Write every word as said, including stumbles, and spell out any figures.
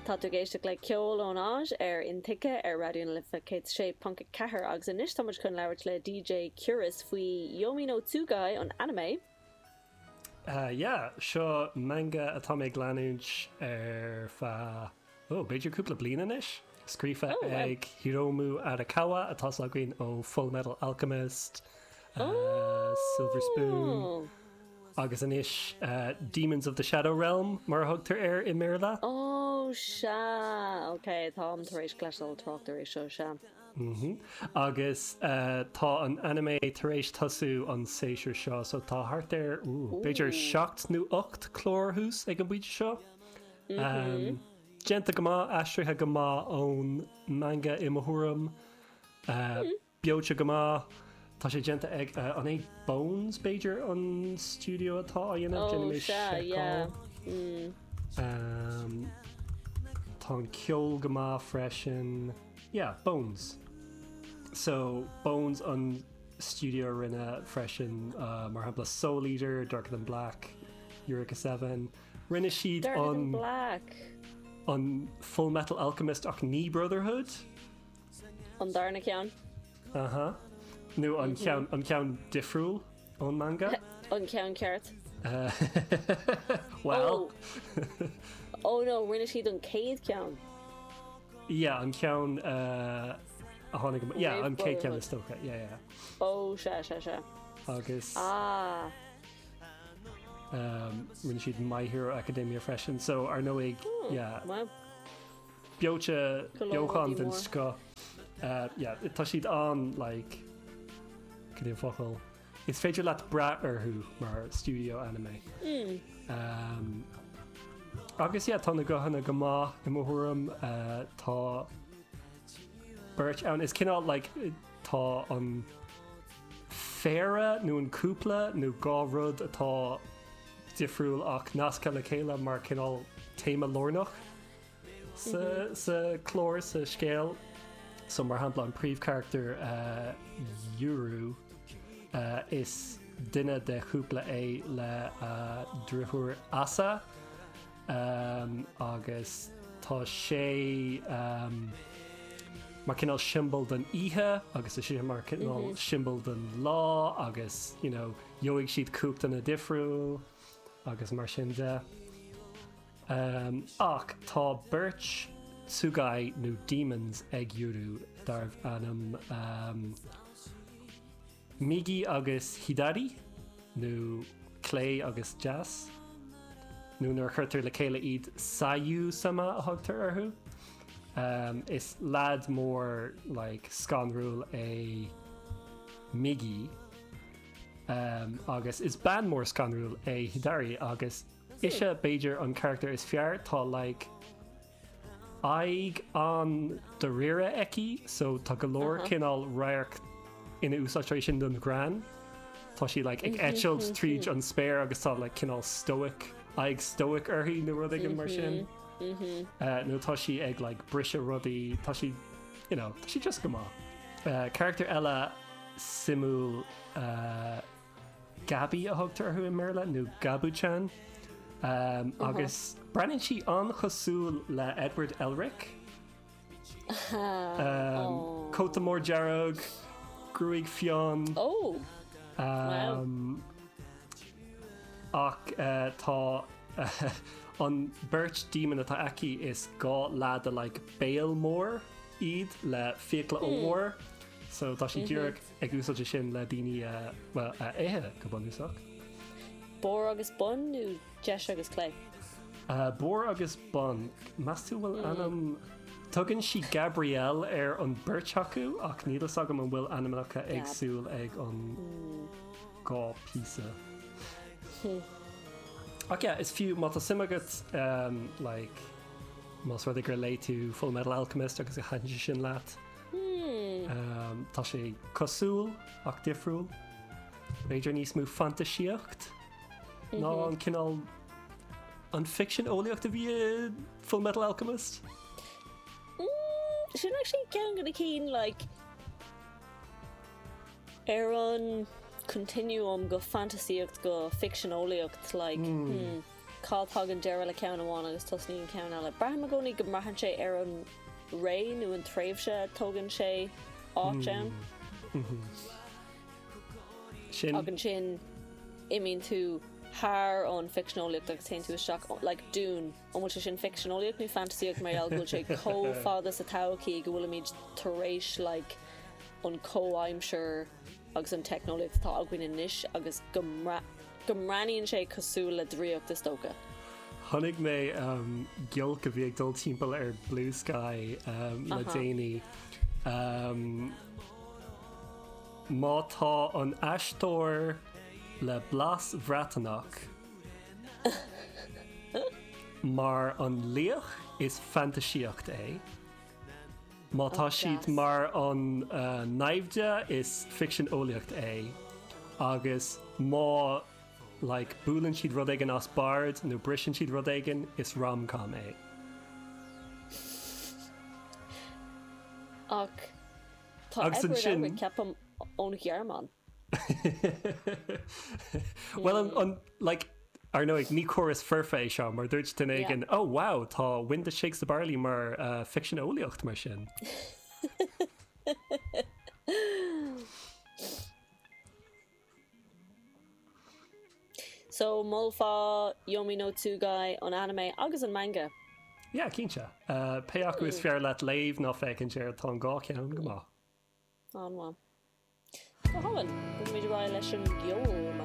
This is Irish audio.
Tá tú ag éisteacht le ceol ón áit ar Intuigthe ar Raidió na Life céad sé ponc a ceathair agus anois tá muid chun labhairt le DJ Curious faoi Yomi no Tsugai an anime. Uh, yeah, seo manga atá mé ag leanúint ar feadh oh, b'fhéidir cúpla bliain anois. Scríofa Oh, wow. ag Hiromu Arakawa atá againn ó Full Metal Alchemist, uh, Silver Spoon Oh, agus anois uh, Demons of the Shadow Realm mar a thugtar air i mBéarla. Oh sea ok táim tar éis cloisteáil trácht air seo sea. Mm Agus uh, tá an anime tar éis tosú an séasúr seo, so tá thart ar ooh, b'fhéidir seacht nó ocht clár thuas ag an bpointe seo. Um, Déanta go maith aistrithe go maith ón manga i mo thuairim uh, beoite go maith Tá sé déanta ag uh, an é Bones b'fhéidir an studio atá á dhéanamh Oh déanfaidh mé sea yeah. seiceáil. Mm. Um, tá an ceol go maith freisin. Yeah, Bones. So Bones an studio rinne freisin uh, mar shampla Soul Eater, Darker Than Black, Eureka Seven. Rinne siad Darker Than an Black. an Full Metal Alchemist ach ní Brotherhood. An darna ceann. Uh-huh. Nó an ceann an ceann difriúil ón manga. An ceann ceart. Uh, well, Oh. oh no, rinne siad an chéad ceann. yeah, an ceann uh, a tháinig yeah, Roimh an chéad ceann Brotherhood. is dócha. Yeah, yeah. Oh sea sea sea. Agus Ah. um, rinne siad My Hero Academia freisin, so ar ndóigh Hmm, yeah, Wow. beoite Go leor beochan rudaí den mór. scoth. Uh, yeah, tá siad an like cad é an focal. Is féidir leat brath orthu mar studio anime. Mm. Um, agus yeah, tá na guthanna go maith i mo thuairim uh, tá beirt ann is cineál like, tá an phéire nó an cúpla nó dhá rud atá difriúil ach nasctha le chéile mar cineál téama lárnach sa, sa chlár sa scéal so mar shampla an príomhcharachtar uh, Yuru uh, is duine de chúpla é le uh, deartháir Asa um, agus tá sé um, mar cineál siombail den oíche agus is sé mar cineál mm -hmm. siombail den lá agus you know, gheobhaidh siad cumhachtanna difriúil agus mar sin de. Um, ach tá beirt Tsugai nó demons ag Yuru darbh ainm um, Migi agus Hidari nó clé agus deas nó nuair a chuirtear le chéile iad Sayu sama a thugtar orthu. Um, is lad mór like, scanrúil é Migi um, agus is bean mór scanrúil é Hidari agus ise b'fhéidir an charachtar is fearr tá like, aghaidh an-dáiríre aici so tá go leor Uh-huh. cineál radharc ina úsáidtear sin don ghreann Tá sí like, ag eitilt tríd an spéir agus tá like, cineál stoic aghaidh stoic uirthi nó rud éigin mar sin. Mhm. Uh, nó tá sí ag like, briseadh rudaí tá sí you know, tá sí just go maith. Uh, charachtar eile suimiúil uh, Gabi a thugtar orthu i mBéarla nó Gabu-chan. Um, agus breathnaíonn sí an-chosúil le Edward Elric. Um, Oh. Cóta mór dearg, gruaig fionn. Oh. Wow. Um, ach uh, tá uh, an beirt demon atá aici is dhá leaid like béal mór iad le fiacla ollmhór so tá sí díreach ag úsáid sin le daoine uh, well, uh, ithe go bunúsach. Bor agus bun nó deis agus clé. Uh, Bor agus bun Meas tú bhfuil ainm Tugann sí Gabrielle ar an beirt acu ach níl a fhios agam an bhfuil ainmneacha Gab. éagsúil ag an dhá píosa. Ach yeah, is fiú má tá suim agat um, like, más rud é gur léigh tú Full Metal Alchemist agus a thaitin sé sin leat. Hmm. Um, tá sé cosúil ach difriúil. B'fhéidir níos mó fantaisíocht ná an cineál an fiction eolaíocht a bhí i Full Metal Alchemist. Mm, sin actually ceann de na cinn like ar an continuum go fantasíocht go fiction eolaíocht like hmm. Cá dtagann deireadh le ceann amháin agus tosnaíonn ceann eile. Braithim i gcónaí go mbraitheann sé ar an ré nó an tréimhse tógann sé áit ann. Sin Ach ansin imíonn tú thar an ficsean-eolaíocht agus téann tú isteach like Dune an bhfuil sé sin ficsean-eolaíocht nó fantasíocht mar gheall go bhfuil sé chomh fada sa todhchaí go bhfuilimid tar éis like an comhaimsir agus an teicneolaíocht atá againn anois agus go mbra- go mbreathnaíonn sé cosúil le draíocht is dócha. Chonaic mé um, giolc a bhí ag dul timpeall ar Blue Sky um, le Aha. déanaí. Um, má tá an aisteoir le blas Breatnach mar an laoch is fantasíocht é. Má tá Oh, siad gas. mar an uh, naimhde is ficsean eolaíocht é agus má like, buaileann siad rud éigin as bord nó briseann siad rud éigin is rom-com é. Ach tá Agus Edward ansin- Elric ceapaim ón Ghearmáin. Well an, an like ar ndóigh ní córas foirfe é seo mar dúirt duine Yeah. éigin oh wow tá Wind That Shakes the Barley mar uh, ficsean eolaíocht mar sin. So molfá Yomi no Tsugai an anime agus an manga. Yeah, cinnte. Uh, pé acu is fearr leat léamh nó féachaint air tá an dhá cheann go maith. An-mhaith. Go hálainn, bogfaimid ar aghaidh leis an gceol